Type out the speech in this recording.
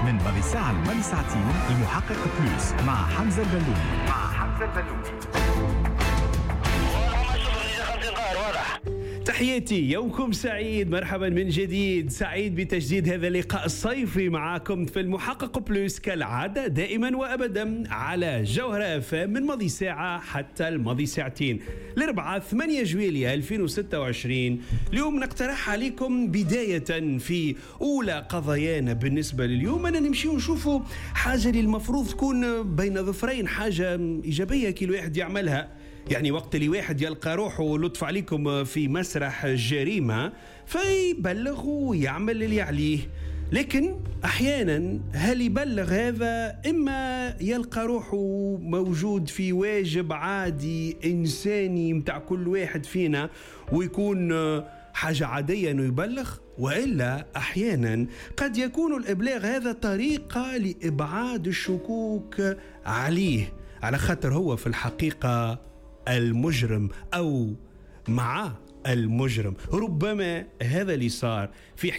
من ماضي ساعة لماضي ساعتين، المحقق Plus مع حمزة البلومي. مع حمزة البلومي. تحياتي، يومكم سعيد، مرحبا من جديد. سعيد بتجديد هذا اللقاء الصيفي معاكم في المحقق Plus كالعادة دائما وأبدا على جوهرة اف من ماضي ساعة حتى الماضي ساعتين. الأربعاء 8 جويلية 2026. اليوم نقترح عليكم بداية في أولى قضايانا بالنسبة لليوم أن نمشي ونشوفوا حاجة اللي المفروض تكون بين ظفرين، حاجة إيجابية كي الواحد يعملها. يعني وقت اللي واحد يلقى روحه لطف عليكم في مسرح جريمة فيبلغ ويعمل اللي عليه، لكن أحيانا هل يبلغ هذا إما يلقى روحه موجود في واجب عادي إنساني متاع كل واحد فينا ويكون حاجة عادية أنه يبلغ، وإلا أحيانا قد يكون الإبلاغ هذا طريقة لإبعاد الشكوك عليه، على خاطر هو في الحقيقة المجرم أو مع المجرم. ربما هذا اللي صار في حكاية